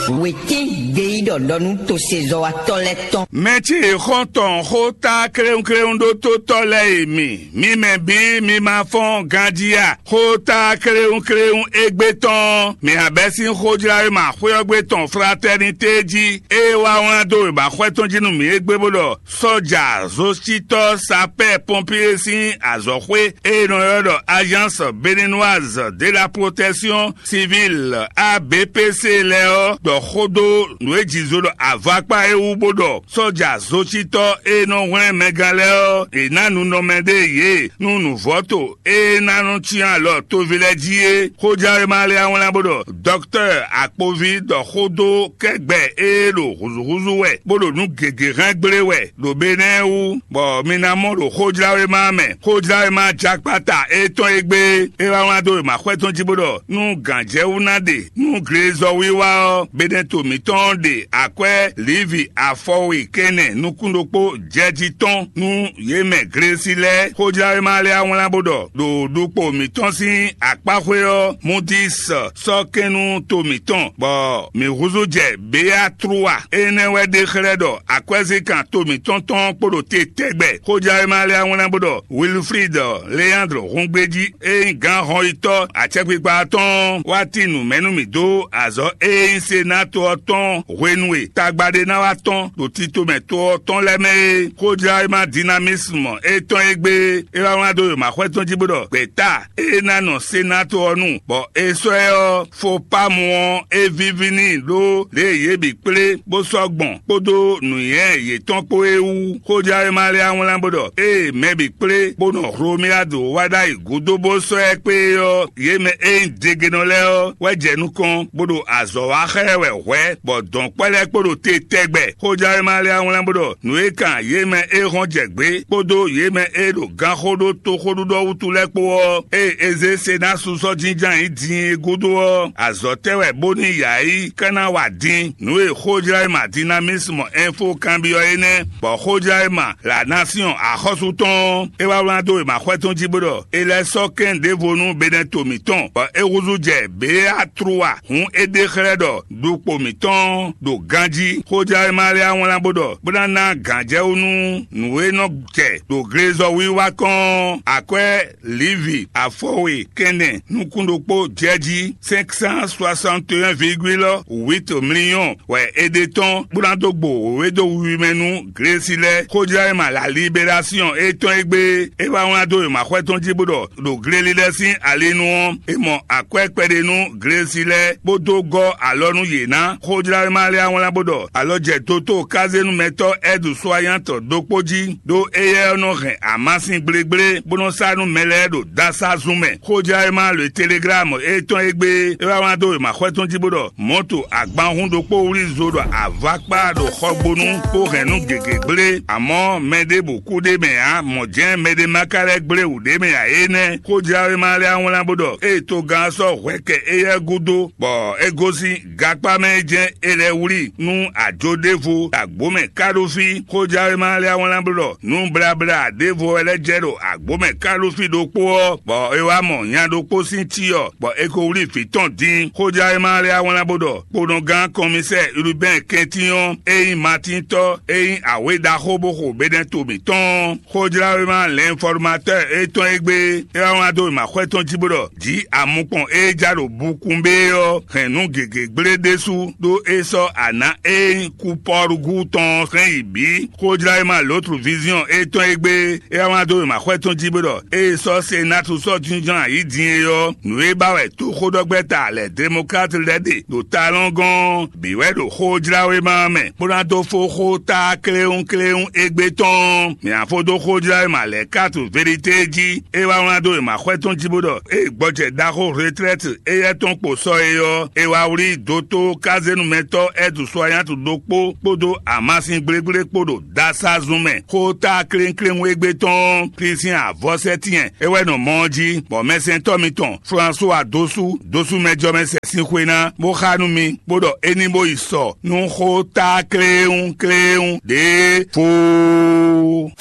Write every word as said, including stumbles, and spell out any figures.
Wětín gbeyíɖɔ ɖɔ nú tosezɔ́watɔ́ lɛ́ɛ tɔn. Mɛ ce e xɔ́n tɔn xó tá kléwúnkléwún ɖó tótɔ́ lɛ́ɛ e mi, mi mɛ bǐ mi ma fɔ́n ganjí a? Xó tá kléwúnkléwún égbé tɔn, mi abɛ́ sín xójláwéma xwé ɔ́ gbe tɔn Fraternité jí, ée wá wlán dó wěmaxwɛ tɔn jí nú mǐ égbé bó ɖɔ sɔ́ja, zocítɔ́, sapɛ́ pɔnpié sín azɔ̌xwé e è nɔ ylɔ́ ɖɔ Agence Béninoise de la Protection Civile, A B P C, lɛ́ɛ ɔ́ ɖɔ xó dó nǔ e jǐ zó ɖɔ avakpá é wú bó ɖɔ sɔ́ja zocítɔ́ e nɔ hwlɛ́n mɛgán lɛ́ɛ ɔ́, è nǎ nunɔmɛ ɖé yě nú nǔvɔ́to e ná nɔ cyán alɔ toví lɛ́ɛ jí é. Xójánwéma lɛ́ɛ wlán bó ɖɔ dɔktɔ́ Akpoví ɖɔ xó dó kɛ́gbɛ e ɖo húzúhúzú wɛ, bó ɖo nǔ gěgé hɛn gblé wɛ ɖo Benɛ́ɛ wú, bɔ mi ná mɔ ɖo xójláwéma mɛ. Xójláwéma jakpata étɔn e gbé é wá wlán dó wěmaxwɛ tɔn jí bó ɖɔ nú gǎnjɛwú ná ɖe nú glezɔwiwa ɔ́, Benɛto mǐtɔn ɖe akwɛ́ Livi afɔwe kɛnɛ nukún ɖokpó jɛjí tɔn nú yě mɛ Glesi lɛ́ɛ. Xójláwéma lɛ́ɛ wlán bó ɖɔ ɖo ɖukpo mǐtɔn sín akpáxwé ɔ́, Mudis sɔ́ kɛn nú to mǐtɔn, bɔ mǐ húzú jɛ Beatrua. Énɛ́ wɛ ɖe xlɛ́ ɖɔ akwɛ́zínkan to mǐtɔn tɔn kpo ɖo te tɛgbɛ. Xójánwéma lɛ́ɛ wlán bó ɖɔ Wilfrid Leandre húngbéjí e nyí gǎn hɔnyitɔ́ acɛkpikpa tɔn ɔ́ wá tín nǔ mɛ nú mǐ dó azɔ̌ e nyí Senáto ɔ́ tɔn hwenu e tagba ɖé ná wá tɔ́n ɖo tito mɛ to ɔ́ tɔn lɛ́ɛ mɛ é. Xójánwéma Dinamisme étɔn e gbé é wá wlán dó wěmaxwɛ tɔn jí bó ɖɔ gbɛ̌ta e ná nɔ Senáto ɔ́ nu, bɔ è sɔ́ ɛ ɔ́, Fopámu ɔ́, é víví n'i ɖó lě e yě bǐ kplé bó sɔ́ gbɔn kpódó nǔnywɛ́ yětɔn kpó é wú. Xójánwéma lɛ́ɛ wlán bó ɖɔ ée mɛ bǐ kplé bó nɔ Hlomyádu wá ɖ'ayǐ gúdo bó sɔ́ ɛ kpé é ɔ́, yě mɛ e nyí degenɔ lɛ́ɛ ɔ́ wɛ jɛ nukɔn bó ɖo azɔ̌ wa xá ɛ wɛ hwɛ̌, bɔ dɔ̌nkpɛ́ lɛ́ɛ kpo ɖo te tɛgbɛ. Xójánwéma lɛ́ɛ wlán bó ɖɔ nǔ e kan yě mɛ e hɔn jɛ gbě kpódó yě mɛ e ɖo ganxó ɖó toxóɖuɖɔ wútu lɛ́ɛ kpó ɔ́, ée é zé Senásu sɔ́ jínjɔ́n ayǐ din é gúdo ɔ́, azɔ̌ tɛ́ wɛ bónú yǎ yi ka ná wa din. Nǔ e xójlá e ma Dinamisme Info kanbyɔ́ é nɛ́, bɔ xójlá e ma La Nation axɔ́sú tɔn ɔ́, é wá wlán dó wěmaxwɛ tɔn jí bó ɖɔ é lɛ́ sɔ́ kɛn ɖěvo nú Benɛto mǐtɔn, bɔ é húzú jɛ Beatrua. Hǔn é ɖe xlɛ́ ɖɔ ɖukpo mǐtɔn ɖo ganjí. Xójlá e ma lɛ́ wlán bó ɖɔ bó ná ná gǎnjɛwú nú nǔ e nɔ jɛ ɖo glezɔwiwa kɔn ɔ́, akwɛ́ Livi afɔwe kɛnɛ nukún ɖokpó jɛjí cinq cent soixante et un virgule huit millions wɛ è ɖe tɔn bó ná dó gbo wěwé dó wiwi mɛ nú Glesi lɛ́ɛ. Xójlá e ma La Libération étɔn e gbé é wá wlán dó wěmaxwɛ tɔn jí bó ɖɔ ɖo gleli lɛ́ɛ sín ali nu ɔ́, è mɔ akwɛ́ kpɛɖé nú Glesi lɛ́ɛ bó dó gɔ́ alɔ nú yě ná. Xójlá e ma lɛ́ wlán bó ɖɔ alɔ jɛ dotóo kazénúmɛtɔ́ Ɛdu Soayantɔ ɖokpó jí ɖó éyɛ́ ɔ́ nɔ hɛn amasin gblégblé bó nɔ́ sá nú mɛ lɛ́ɛ ɖo dásázún mɛ. Xójlá e ma lǒ Teleglámu étɔn e gbé é wá wlán dó wěmaxwɛ tɔn jí bó ɖɔ mɔ̌to agbanhún ɖokpó wlí zo ɖo avakpá ɖo xɔgbónú bó hɛn nú gěgé gblé, amɔ̌ mɛ ɖěbǔ kú ɖ'é mɛ ǎ, mɔ̌ jɛ́n mɛɖé ma ka lɛ́ gblé wǔ ɖ'é mɛ ǎ é nɛ́. Xójlá e ma lɛ́ wlán bó ɖɔ ée togán ɔ́ sɔ́ hwɛ kɛ éyɛ́ gúdo, bɔ é gosín gakpá mɛ é jɛ́n é lɛ́ wlí nú ajo ɖěvo ɖo agbǒ mɛ ká ɖó fí. Xójánwéma lɛ́ɛ wlán bló ɖɔ nǔ blabla ɖěvo wɛ lɛ́ jɛ ɖo agbǒ mɛ ká ɖó fí ɖokpó ɔ́, bɔ é wá mɔ nya ɖokpó sín cyɔ, bɔ è ko wlí vǐ tɔn dín. Xójánwéma lɛ́ɛ wlán bó ɖɔ kponɔgán kɔnmisɛ́ɛ Urubɛ́n kɛntín ɔ́, é nyí Matíntɔ́, é nyí awě ɖaxó bó xo Benɛto mǐtɔn ɔ́. Xójláwéma Lɛ̌nfɔ́rmatɔ́ɔ étɔn e gbé é wá wlán dó wěmaxwɛ tɔn jí bó ɖɔ jǐ amukpɔn e ja ɖo bukunbé ɔ́ hɛn nǔ gěgé gblé ɖésú ɖó é sɔ́ anǎ e nyí kupɔ́rúgú tɔn ɔ́ hɛn yi bǐ. Xójláwéma Lǒtlu Viziɔn étɔn e gbé é wá wlán dó wěmaxwɛ tɔn jí bó ɖɔ ée sɔ́ Senátu sɔ́ jínjɔ́n ayǐ din é ɔ́, nǔ e ba wɛ toxóɖɔgbɛ́ta lɛ̌ Demokláti lɛ́ɛ ɖe ɖo talɔ́ngɔ́n ɔ́ bǐ wɛ ɖo xójláwéma ɔ́ mɛ, bó ná dó fó xó tá kléwúnkléwún égbé tɔn ɔ́. Mǐ ná fó dó xójláwéma lɛ̌ kátu Velité jí. É wá wlán dó wěmaxwɛ tɔn jí bó ɖɔ ée gbɔjɛ ɖaxó Retlɛ́ti éyɛ́ tɔn kpo sɔ é ɔ́, è wá wlí dótó kazénumɛtɔ́ Ɛdu Soayántu ɖokpó kpódó amasin gblégblé kpó ɖo dasázun mɛ. Xó tá kléwúnkléwún égbé tɔn ɔ́, Klísián avɔ́sɛ́tyɛn é wɛ nɔ mɔ ɔ́ jí, bɔ mɛsɛntɔ́ mitɔn Flansúwa dó sú dó sú mɛjɔmɛsɛn sín xwe ná, bó xá nú mi, bó ɖɔ é ní bó yi sɔ nú xó tá kléwúnkléwún ɖěe foo.